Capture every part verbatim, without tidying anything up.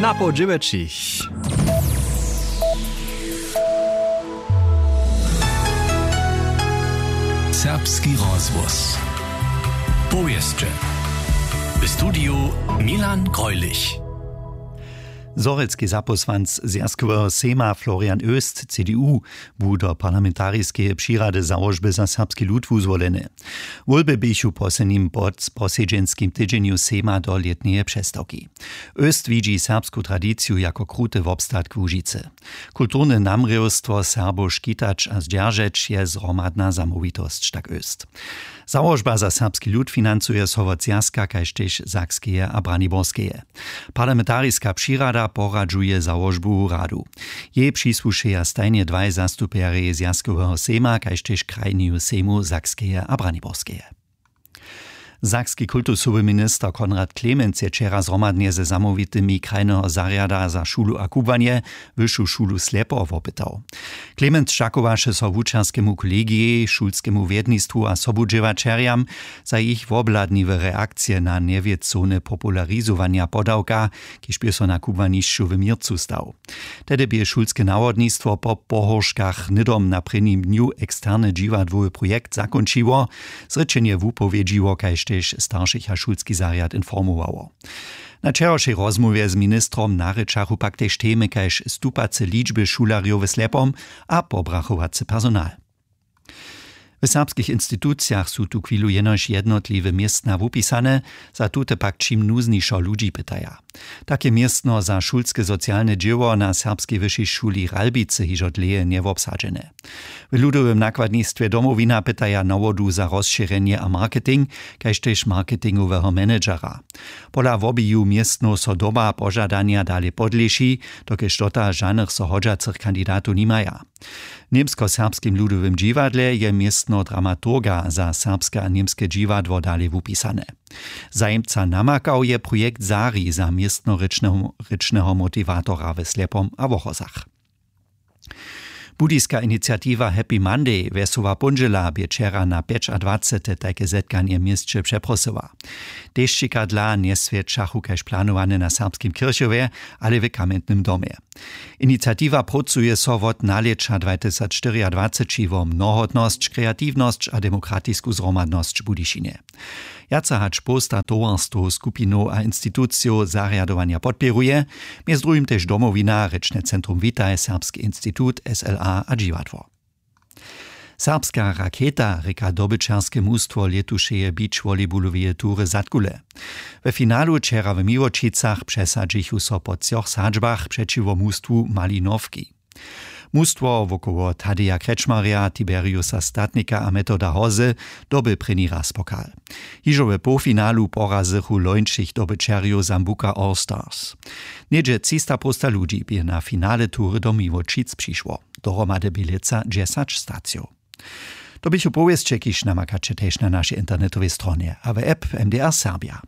A po dźewjećich. Serbski rozhłos. Powěsće. W studiju Milan Greulich. Zhorjelski zapósłanc zwjazkoweho sejma Florian Oest, C D U, bu do parlamentariskeje přirady Załožby za serbski lud wuzwoleny. Wólby běchu w poslednim pod-, posedźenskim tydźenju sejma do lětneje přestawki. Oest widźi serbsku tradiciju jako kruty wobstatk Łužicy. Kulturne namrěwstwo Serbow škitać a zdźeržeć je zhromadna zamołwitosć, tak Oest. Załožba za serbski lud financuje so wot Zwjazka kaž tež Sakskeje a Braniborskeje. Parlamentariska přirada poradźuje załožbu radu. Jej přisłušeja stajnje dwaj zastupjerjej Zwjazkoweho sejma kaž tež krajneju sejmu Sakskeje a Braniborskeje. Sakski kultusowy minister Konrad Klemenc je wčera zhromadnje ze zamołwitymi krajneho zarjada za šulu a kubłanje Wyšu šulu Slepo wopytał. Klemenc dźakowaše so wučerskemu kolegijej, šulskemu wjednistwu a sobudźěłaćerjam za jich wobhladniwe reakcije na njewěcowne popularizowanja podawka, kiž bě so na kubłanišću w měrcu stał. Tehdy bě šulske nawodnistwo po pohórškach hnydom na prěnim dnju eksterne dźiwadłowy projekt zakónčiło, zrěčenje wupowědźiło kaž tež staršich a šulski zarjad informowało. Na wčerawšej rozmołwje z ministrom narěčachu pak tež temy kaž stupace ličby šulerjow w Slepom a pobrachowacy personal. W serbskich institucijach su tuchwilu jenož jednotliwe městna wupisane, za tute pak čim nuznišo ludźi pytaja. Take městno za šulske socialne dźěło na Serbskej wyšej šuli Ralbicy hižo dlěje njewobsadźene. W ludowym nakładnistwje Domowina pytaja nawodu za rozšěrjenje a marketing, kaž tež marketingoweho managera. Pola wobiju městnow so doba požadanja dale podlěši, dokelž dotal žanych so hodźacych kandidatow nimaja. W němskoserbskim ludowym dźiwadle je městno dramaturga za serbske a němske dźiwadło dale wupisane. Zajimca namakał je projekt Sari za městnorěčneho motiwatora w Slepom a Wochozach. Budyska iniciatiwa Happy Monday wjesoła póndźěla bě wčera na pjećadwacete tajke zetkanje w měsće přeprosyła. Tež čikadla njeswjećachu kaž planowane na serbskim kirchowje, ale w kamjentnym domje. Iniciatiwa prócuje so wot nalěća dwatysacštyriadwaceći wo mnohotnosć, kreatiwnosć a demokratisku zhromadnosć w Budyšinje. Wjace hač połsta towarstwow, skupinow a institucijow zarjadowanja podpěruje, mjez druhim tež Domowina, rěčne centrum Witaj, Serbski institut, S L A a dźiwadło. Serbska raketa rěka dobyćerske mustwo lětušeje beach volleyballoweje tury Zadkule. We finalu wčera w Miłočicach přesadźichu so po třoch sadźbach přećiwo mustwu Malinowki. Mustwo wokoło Tadeja Krečmarja, Tiberiusa Statnika a Metoda Hozy doby prěni raz pokal. Hižo we połfinalu porazychu lońšich dobyćerjow Sambuca All Stars. Něhdźe třista połsta ludźi bě na finale tury do Miłočic přišło. Dohromady bě lětsa dźesać stacijow. To běchu powěsće, kiž namakaće tež na našej internetowej stronje a w app M D R Serbia.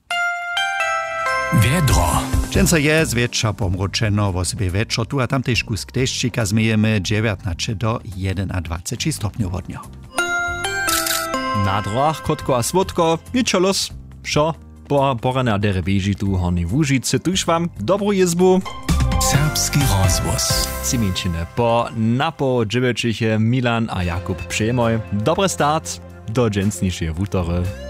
Wjedro. Dźensa je zwjetša pomróčeno, wosebje wječor tu a tam tež kusk dešćika změjemy, dźewjatnaće do jedynadwaceći stopnjow wodnjo. Na drogach krótko a słódko, ničo los, wšo. Po porane a derje běži tu w Hornjej Łužicy, tuž wam dobru jězbu. Serbski rozhłos. Tři minčiny po napoł dźewjećich je Milan a Jakub přejemoj. Dobry start do dźensnišeje wutory.